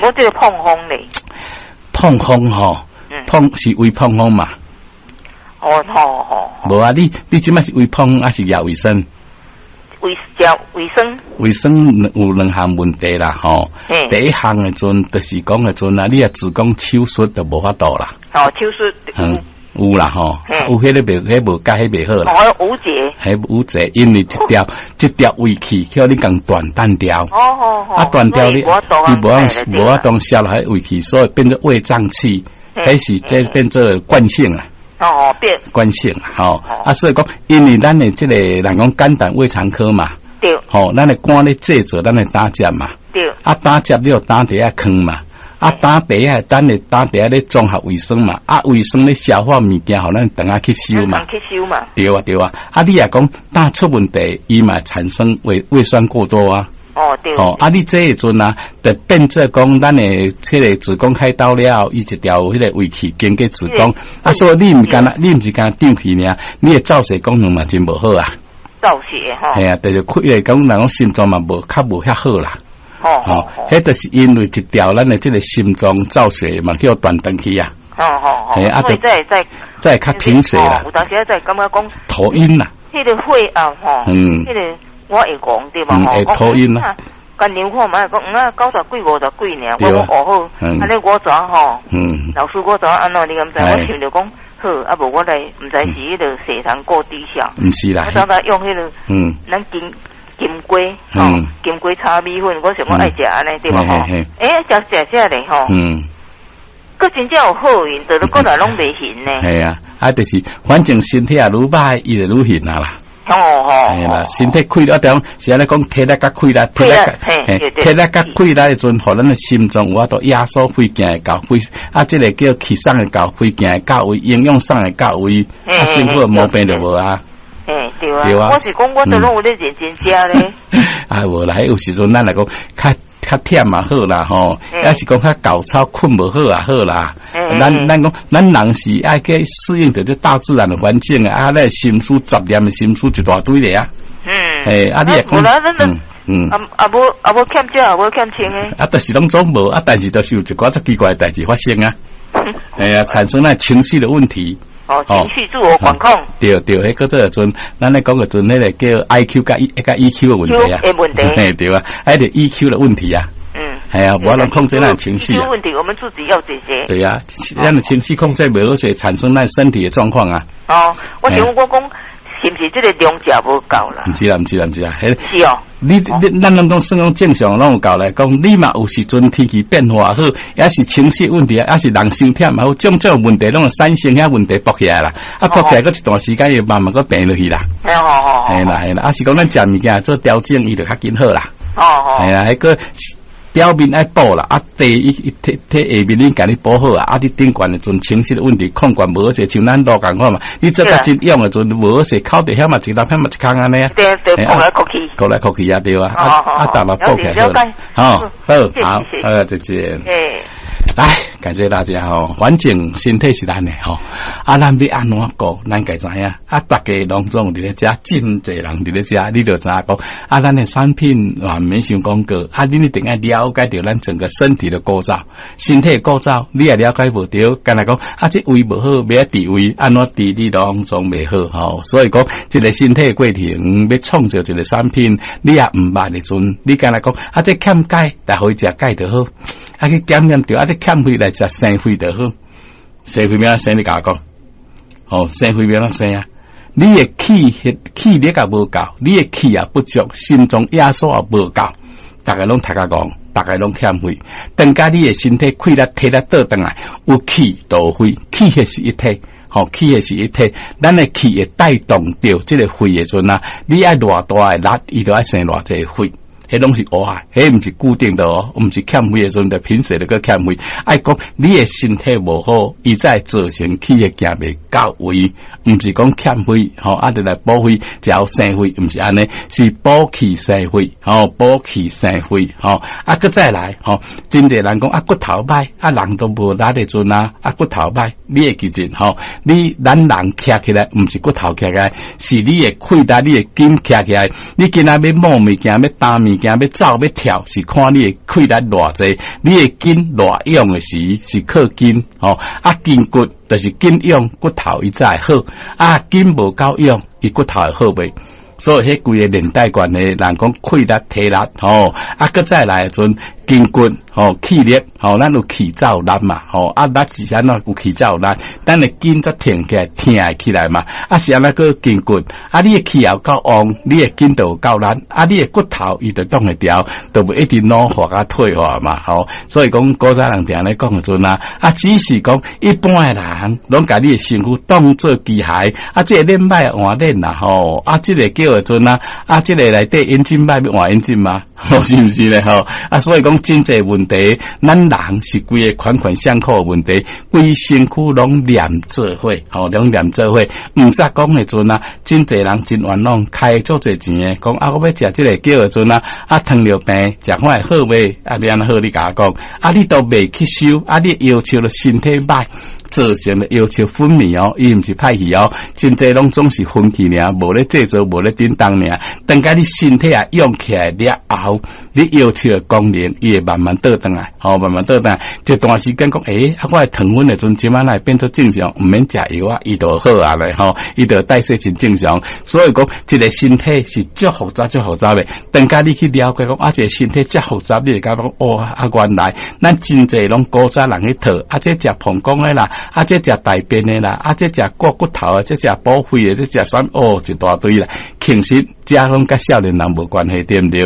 我這個膨風咧，膨風吼，膨是胃膨風嘛？哦吼吼，無啊！你這擺是胃膨風還是胃胃酸？胃酸。胃酸有兩項問題啦，吼。第一項的陣，就是講的陣啊，你若子宮手術就無法度啦。哦，手術。嗯，有啦吼，有彼個袂，彼無解，彼袂好啦。哦，有一彼有一個，因為一條胃氣叫你共斷斷掉。啊，斷掉你，你無法度消落彼胃氣，所以變做胃脹氣，彼是這變做慣性啊。哦，變慣性吼，啊，所以講，因為咱的這個人講肝膽胃腸科嘛，吼，咱的肝咧製造咱的膽汁嘛，啊，膽汁你有膽底下囥嘛，啊，膽底下咱的膽底下咧綜合胃酸嘛，啊，胃酸咧消化物件，予咱腸仔吸收嘛，吸收嘛，對啊對啊，啊，你若講膽出問題，伊嘛產生胃酸過多啊。哦，對。哦，啊，你這個陣啊，就變做講，咱的彼個子宮開刀了，伊一條彼個胃氣經過子宮，啊，所以你毋干焦，你毋是干焦脹氣爾，你的造血功能嘛真無好啊。造血吼。係啊，就是開個講人講心臟嘛無較無遐好啦。哦。彼就是因為一條咱的這個心臟造血嘛叫斷斷去啊。哦。係啊，就再再較貧血啦。有當時再感覺講頭暈啦。彼個血壓吼，彼個。我會講對嘛吼，會頭暈啦。干量看覓講，啊九十幾五十幾爾，我講哦好，按呢我怎吼？老師我怎按怎？你敢知？我想著講好，啊無我來，毋知是彼個血糖過低下。毋是啦。我怎來用彼個？咱金瓜吼，金瓜炒米粉，我想講愛食按呢對無吼？欸，食食食咧吼。閣真正有好運，就閣來攏袂眩呢。係啊，啊就是反正身體也愈歹，伊就愈眩啊啦。哦哦，係啦，身體氣力啊，是按呢講體力較氣力，體力較氣力的陣，予咱的心臟有法度壓縮血行會到血，啊，這個叫氣送會到，血行會到位，營養送會到位，啊，身體毛病就無啊。嘿，對啊，對啊，我是講，我都攏有咧認真食咧。啊，無啦，有時陣咱來講較較忝嘛好啦吼，抑是講較厚草睏無好也好啦。咱講，咱人是愛去適應著這大自然的環境啊，啊，咱心思雜念的心思一大堆咧啊。嘿，啊，你會講，啊啊無啊無欠食，無欠穿的。啊，就是攏總無啊，但是就是有一寡足奇怪的代誌發生啊。嘿啊，產生那情緒的問題。哦，情緒自我管控。對對，彼個做陣，咱咧講個陣，彼個叫 I Q 佮 E 佮 E Q 的問題啊。問題。嘿，對啊，彼個 E Q 的問題啊。係啊，無法度控制咱情緒。 EQ 問題，我們自己要解決。對啊，咱的情緒控制袂好勢，產生咱身體的狀況啊。哦，我想我講，是毋是這個量食無夠啦？毋是啦，毋是啦，毋是啦。是哦。你咱攏講算講正常，攏有夠來講，你嘛有時陣天氣變化好，抑是情緒問題，抑是人傷忝嘛好，種種問題攏會產生遐問題爆起來啦。啊，爆起來閣一段時間，又慢慢閣平落去啦。哦。係啦係啦，啊是講咱食物件做調整，伊就較緊好啦。哦。係啊，彼個表面愛補啦，啊，底伊伊體體下面恁共你補好啊，啊，你頂懸的陣情緒的問題控管無好勢，像咱路仝款嘛，你做較真勇的陣無好勢，口佇遐嘛一粒，遐嘛一空按呢啊。對對，哭來哭去。哭來哭去啊，對啊，啊啊，逐粒補起來好，好，好，好，再見。來，感謝大家吼，反正身體是咱的吼，啊，咱欲按怎顧，咱家知影。啊，逐家攏總佇咧遮，真濟人佇咧遮，你就知影講，啊，咱的產品嘛毋免傷廣告，啊，恁一定愛了解著咱整個身體的構造，身體的構造，你若了解無著，干焦講，啊，這胃無好，欲愛治胃，按怎治你攏總袂好吼。所以講，這個身體的過程，欲創造一個產品，你也毋捌的陣，你干焦講，啊，這欠鈣，來予伊食鈣就好。啊去檢驗著，啊這欠血來食生血就好，生血欲按怎生？你共我講，哦，生血欲按怎生啊？你的氣血氣力也無夠，你的氣也不足，心臟壓縮也無夠，逐家攏讀較戇，逐家攏欠血。等甲你的身體氣力體力倒轉來，有氣就有血，氣血是一體，吼，氣血是一體。咱的氣會帶動著這個血的陣啊，你愛偌大的力，伊就愛生偌濟血。彼攏是烏啊，彼毋是固定的哦，毋是欠血的時陣就貧血就閣欠血。愛講你的身體無好，伊才會造成氣血行袂到位，毋是講欠血吼，啊就來補血，才有生血，毋是按呢，是補氣生血，吼，補氣生血，吼，啊，閣再來，吼，真濟人講啊骨頭歹，啊人都無力的陣啊，啊骨頭歹，你會記得吼，你咱人徛起來，毋是骨頭徛起來，是你的氣力、你的筋徛起來。你今仔欲摸物件，欲擔物物件欲走欲跳，是看你的氣力偌濟，你的筋偌勇的時是靠筋吼，啊筋骨就是筋勇骨頭伊才會好，啊筋無夠勇，伊骨頭會好袂？所以彼規个連帶關係，人講氣力體力吼，啊，閣再來的時陣筋骨吼氣力吼，咱有氣才有力嘛吼，啊力是按怎有氣才有力，咱的筋才挺起來，疼會起來嘛，啊是按怎閣筋骨，啊你的氣又夠旺，你的筋就有夠力，啊你的骨頭伊就擋會牢，就袂一直老化佮退化嘛吼。所以講古早人定咧講的陣啊，啊只是講一般的人攏共你的身軀當做機械，啊這個鏈歹換鏈啦吼，啊這個叫的陣啊，啊這個內底引擎歹欲換引擎嗎？是毋是咧吼？啊所以講真濟問題，咱人是規个環環相扣的問題，規身軀攏連做伙，吼攏連做伙。毋則講的陣啊，真濟人真冤枉，開足濟錢的，講啊我欲食這個叫的陣啊，啊糖尿病食看會好袂？啊你按怎好？你共我講，啊你都袂去修，啊你要求了身體歹。造成的要求分泌哦，伊毋是歹去哦，真濟攏總是分氣爾，無咧製造，無咧叮當爾。等共你身體啊用起來了後，你要求的功能，伊會慢慢倒轉來，吼，慢慢倒轉來。一段時間講，欸，啊，我的糖分的陣，這擺來變做正常，毋免食藥啊，伊就好啊咧，吼，伊就代謝真正常。所以講，這個身體是足複雜、足複雜的。等共你去了解講，啊，這個身體遮複雜，你會感覺講，哦，啊，原來咱真濟攏古早人去套，啊，這食膀胱的啦。啊，這食大便的啦，啊，這食割骨頭啊，這食補肺的，這食啥哦，一大堆啦。其實這攏佮少年人無關係，對毋對？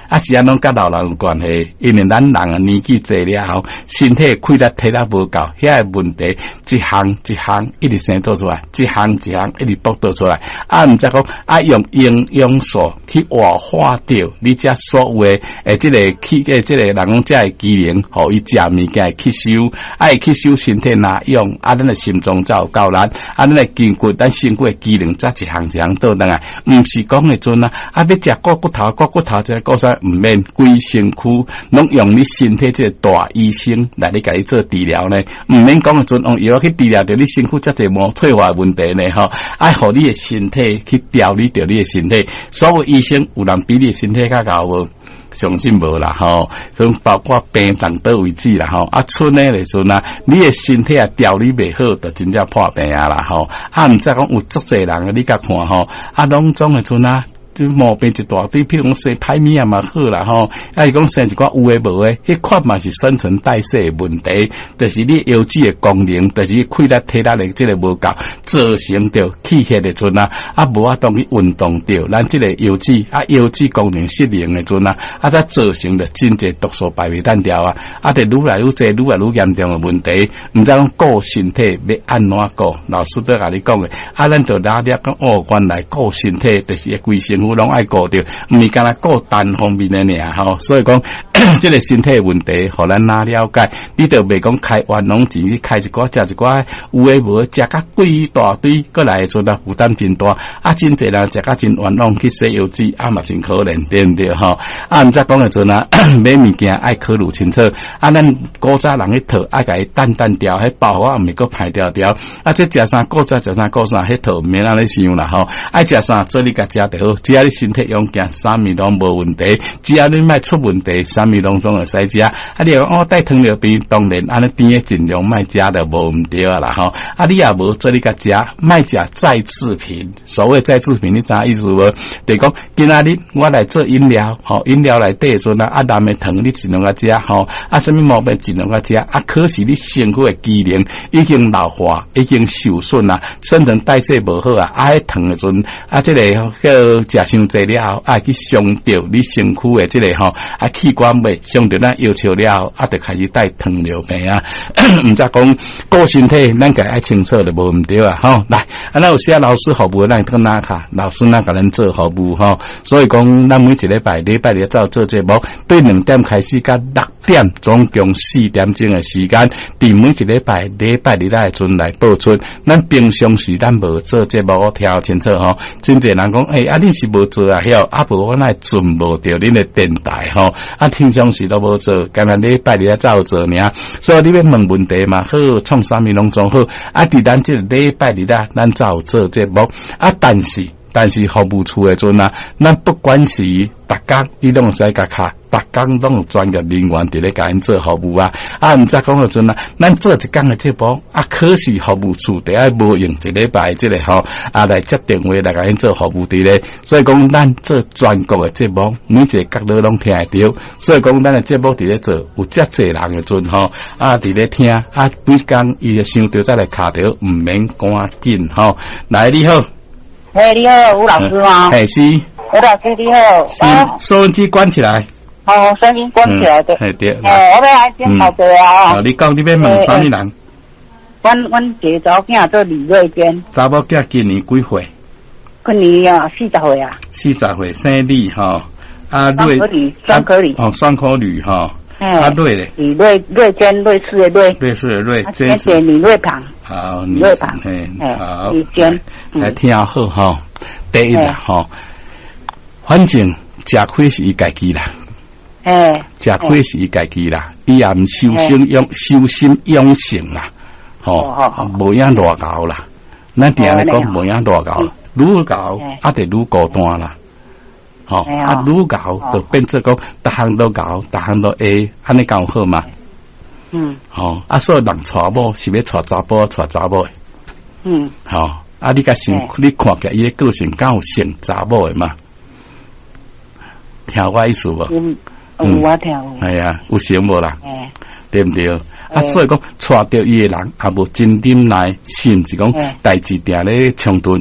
啊，是按怎佮老人有關係？因為咱人啊年紀濟了後，身體氣力體力無夠，遐個問題一項一項一直生做出來，一項一項一直爆做出來。啊，毋則講啊，用營養素去活化著你這所有的欸，這個氣的這個人講這個機能，予伊食物件會吸收，啊會吸收身體若用，啊，咱的心臟才有夠力，啊，咱的筋骨，咱身軀的機能才一項一項倒轉來，毋是講的陣啊，啊，欲食割骨頭，割骨頭這個故事毋免規身軀攏用你身體這個大醫生來咧共你做治療呢，毋免講的陣用藥去治療著你身軀遮濟無退化的問題呢，吼，愛予你的身體去調理著你的身體，所有醫生有人比你的身體較𠢕無？相信無啦吼，所以包括病動佗位置啦吼，啊，賰的時陣啊，你的身體啊調理袂好，就真正破病啊啦吼。啊，毋則講有足濟人，你共看吼，啊，攏總的賰啊。毛病一大堆，譬如講生歹物仔嘛好啦吼，啊是講生一寡有的無的，彼款嘛是新陳代謝的問題，就是你腰子的功能，就是氣力體力的這個無夠，造成著氣血的陣啊，啊無法度去運動著，咱這個腰子啊腰子功能失靈的陣啊，啊才造成著真濟毒素排袂當掉啊，啊就愈來愈濟，愈來愈嚴重的問題，毋知講顧身體欲按怎顧，老師都共你講的，啊咱就拿了講哦，原來顧身體就是規身軀攏愛顧著，毋是干焦顧單方面的爾吼，所以講這個身體問題，予咱哪了解，你就袂講開冤枉錢去開一寡食一寡有的無的，食甲貴一大堆，閣來的陣啊負擔真大，啊真濟人食甲真冤枉去洗腰子，啊嘛真可憐，對毋對吼？啊毋則講的陣啊，買物件愛考慮清楚，啊咱古早人去套，愛共伊澹澹掉，彼包袱毋是閣歹牢牢，啊這食啥古早食啥古啥，彼套毋免按呢想啦吼，愛食啥做你共食就好，只要你身體勇健，啥物攏無問題，只要你莫出問題，啥物攏總會使食。啊，你若講哦帶糖尿病，當然按呢甜的盡量莫食就無毋對啊啦吼。啊，你也無做你共食，莫食再製品。所謂再製品，你知影意思無？就是講今仔日我來做飲料，吼飲料內底的時陣啊，藍的糖你盡量共食，吼啊，啥物毛病盡量共食。啊，可是你身軀的機能已經老化，已經受損啊，新陳代謝無好啊，啊，彼糖的陣啊，這個叫食傷濟了後，啊去傷著你身軀的這個吼啊器官未傷著咱腰笑了後，啊，就開始帶糖尿病啊。毋則講顧身體，咱家愛清楚就無毋對啊。吼，來，啊，咱有時老師服務，咱會當打卡，老師咱共咱做服務吼。所以講，咱每一禮拜禮拜日走做節目，對2點開始到6點，總共4點鐘的時間，佇每一禮拜禮拜日的陣來播出。咱平常時咱無做節目，我聽清楚吼。真濟人講，欸，啊，恁是無做啊？曉啊，無我哪會準無著恁的電台吼？啊，平常時都無做，干焦禮拜日才有做爾。所以你欲問問題嘛好，創啥物攏總好。啊，佇咱這個禮拜日啊，咱才有做節目。啊，但是。但是服務處的陣啊，咱不管是逐工，你攏會使共敲，逐工攏有專業人員佇咧共𪜶做服務啊。啊，毋則講的陣啊，咱做一工的節目，啊，可是服務處得愛無用一禮拜這個吼，啊來接電話來共𪜶做服務佇咧。所以講，咱做全國的節目，每一個角落攏聽會著。所以講，咱的節目佇咧做，有遮濟人的陣吼，啊，佇咧聽，啊，每工伊會想著再來敲著，毋免趕緊吼。來，你好。嘿，你好，吳老師嗎？嘿，是。吳老師你好。是，收音機關起來。哦，收音機關起來的。嘿對。哦，我欲來請教一下啊。你講你欲問啥物人？阮一個查某囝做李瑞娟。查某囝今年幾歲？今年啊，40歲啊。40歲，姓李吼。啊，瑞。雙可雙可女。哦，雙可女吼。啊，瑞咧。李瑞瑞娟，瑞士的瑞。瑞士的瑞。而且李瑞旁。好，李瑞旁。嘿，好。李娟。來聽好吼，第一啦吼，反正食虧是伊家己啦。食虧是伊家己啦，伊也毋修心養修心養性啦，吼，無影偌𠢕啦。咱定咧講無影偌𠢕，愈𠢕啊，就愈孤單啦。吼，啊愈𠢕就變做講，逐項都𠢕，逐項都會，按呢敢有好嗎？吼，啊，所以人娶某是欲娶查埔，娶查某的。吼，啊，你共想，你看起來伊的個性敢有像查某的嗎？聽我意思無？有我聽有。係啊，有像無啦？對毋對？啊，所以講娶著伊的人也無真忍耐，甚至講代誌定咧衝突。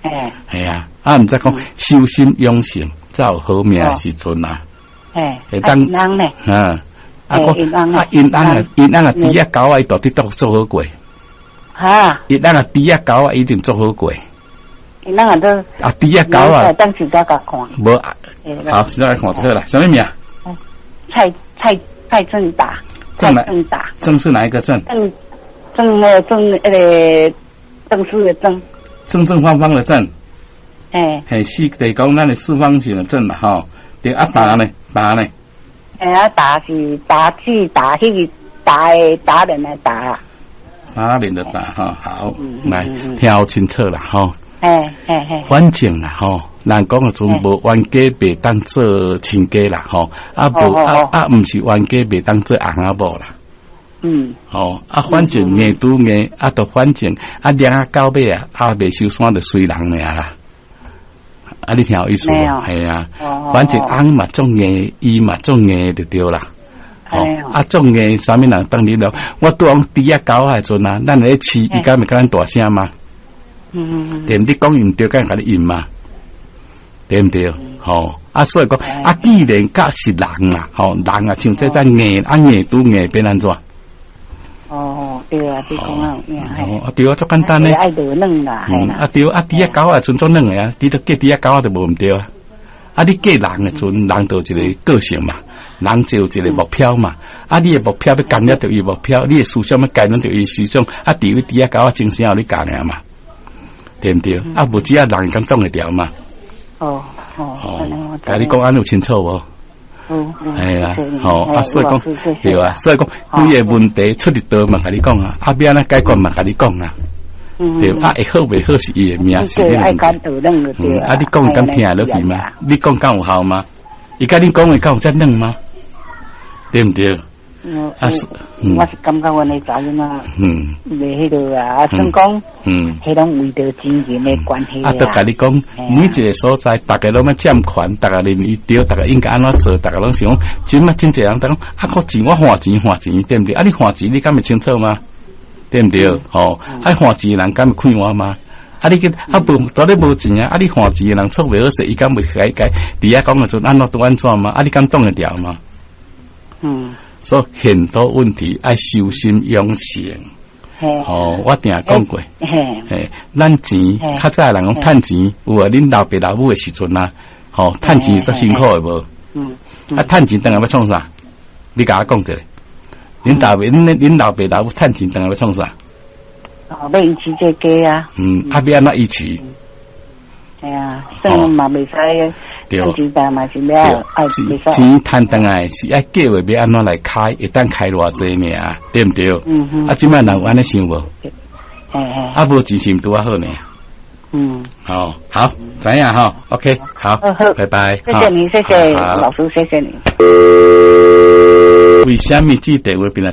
係啊，啊，毋則講修心養性，才有好命的時陣啊。會當啊，啊，講啊，𪜶翁啊，𪜶翁啊，豬仔狗仔，伊到底都做好過。哈！𪜶翁啊，豬仔狗仔一定做好過。𪜶翁啊，都啊，豬仔狗仔，等時再共看。無，好，現在來看就好啦。啥物名？蔡正達。鄭達。鄭是哪一個鄭？鄭鄭那個鄭那個鄭氏的鄭。正正方方的正。哎。嘿，是得講咱的四方形的正嘛，吼。對，啊達呢？達呢？哎啊，達是達字達彼個達的達人的達。達人的達哈，好，來聽清楚啦，吼。反正啦，吼，人講的陣無冤家袂當做親家啦，吼，啊無啊啊，毋是冤家袂當做翁仔某啦。吼，啊，反正硬拄硬，啊，就反正啊，掠啊到尾啊，啊，袂收山就隨人爾啦。啊，你聽有意思無？係啊，反正翁嘛足硬，伊嘛足硬就對啦。吼，啊，足硬，啥物人當你了？我拄講豬仔狗仔的陣啊，咱咧飼，伊敢會共咱大聲嗎？對毋？你講伊毋對，敢會共你應嗎？對毋對？吼，啊，所以講，啊，既然甲是人啦，吼，人啊，像這遮硬，啊硬拄硬變按怎？哦，對啊，你講啊有影。哦，對啊，足簡單咧。愛落軟啦，啊對，啊豬仔狗仔陣足軟的啊，你都嫁豬仔狗仔就無毋對啊。啊，你嫁人的陣，人就有一個個性嘛，人就有一個目標嘛。啊，你的目標欲干擾著伊目標，你的思想欲干擾著伊思想，啊，除非豬仔狗仔精神予你教爾嘛，對毋對？啊，無只啊人敢擋會牢嘛？哦哦，共你講按呢有清楚無？係啊，吼啊，所以講對啊，所以講規个問題出佇佗嘛，共你講啊，啊，欲按怎解決嘛，共你講啊，對啊，會好袂好是伊的命，是你的問題。啊，你講敢聽會落去嗎？你講敢有效嗎？伊共你講的敢有遮軟嗎？對毋對？啊，我是感覺阮的查某囝，袂彼落啊，啊，算講，彼攏為著錢銀的關係啊。啊，都共你講，每一個所在，逐家攏欲佔權，逐家認為對，逐家應該按怎做，逐家攏想講，這馬真濟人講，啊，靠錢我還錢還錢，對毋對？啊，你還錢你敢會清楚嗎？對毋對？吼，啊，還錢的人敢會快活嗎？啊，你去啊無，蹛咧無錢啊！啊，你還錢的人錯袂好勢，伊敢會改改？佇遐講的陣按怎拄按怎嗎？啊，你敢擋會牢嗎？所以很多問題愛修心養性。吼，我定講過。嘿，咱錢較早人講趁錢，有啊，恁老爸老母的時陣啊，吼，趁錢足辛苦的無？啊，趁錢轉來欲創啥？你共我講一下。恁老爸老母趁錢轉來欲創啥？哦，欲維持這家啊。啊，欲按怎維持？係啊，算嘛袂使。對，錢嘛是了，愛錢趁轉來是愛計劃欲按怎來開，會當開偌濟爾，對毋對？啊，這擺人有按呢想無？啊，無錢是毋拄仔好呢？好，好，知影吼，OK，好，拜拜。謝謝你，謝謝老師，謝謝你。為啥物這電話變來？